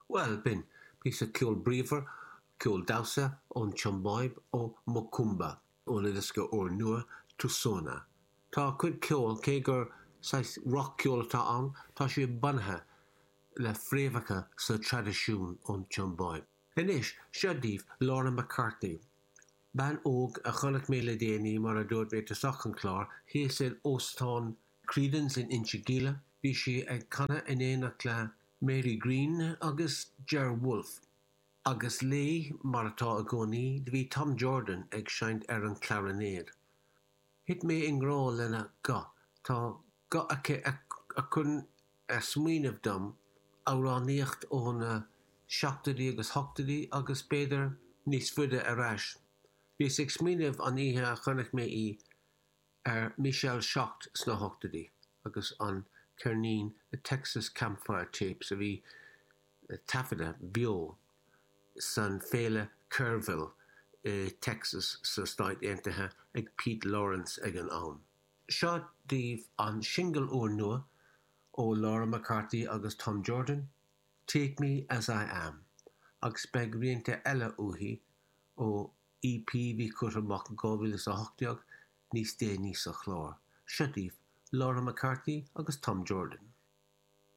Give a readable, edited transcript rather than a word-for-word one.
Bhuel, b'in píosa ceol bríomhar, ceol damhsa ón tSiombáib, ó Mokoomba, óna diosca úrnua, Tusona. Tá a cuid ceoil, cé gur saghas roc-cheol atá ann, tá sé bunaithe le fréamhacha sa traidisiún ón tSiombáib. Anois, seo daoibh Laura McCarthy, bean óg a chonaic mé le déanaí, mar a dúirt mé i dtosach an chláir, thíos in Óstán Creedon's in Inse Gile. Bhí sí ag canadh in éineacht le Mary Greene agus Ger Wolfe, agus léi, mar atá i gcónaí, do bhí Tom Jordan ag seinnt ar an chlarinéad. Thit mé i ngrá lena guth, tá guth aici a chuireann ag smaoineamh dom amhránaíocht ó na seachtóidí agus hochtóidí agus b'fhéidir níos faide ar ais. Bhíos ag smaoineamh an oíche a chonaic mé í ar Michelle Shocked sna hochtóidí agus an ceirnín The Texas Campfire Tapes a bhí taifeadta beo san féile Kerrville i Texas sna Stáit Aontaithe ag Pete Lawrence ag an am. Seo daoibh an singil úrnua ó Laura McCarthy agus Tom Jordan, Take Me As I Am, agus beidh rianta eile uaithi ó EP bhí curtha amach in 2018 níos déanaí sa chlár. Seo daoibh Laura McCarthy agus Tom Jordan.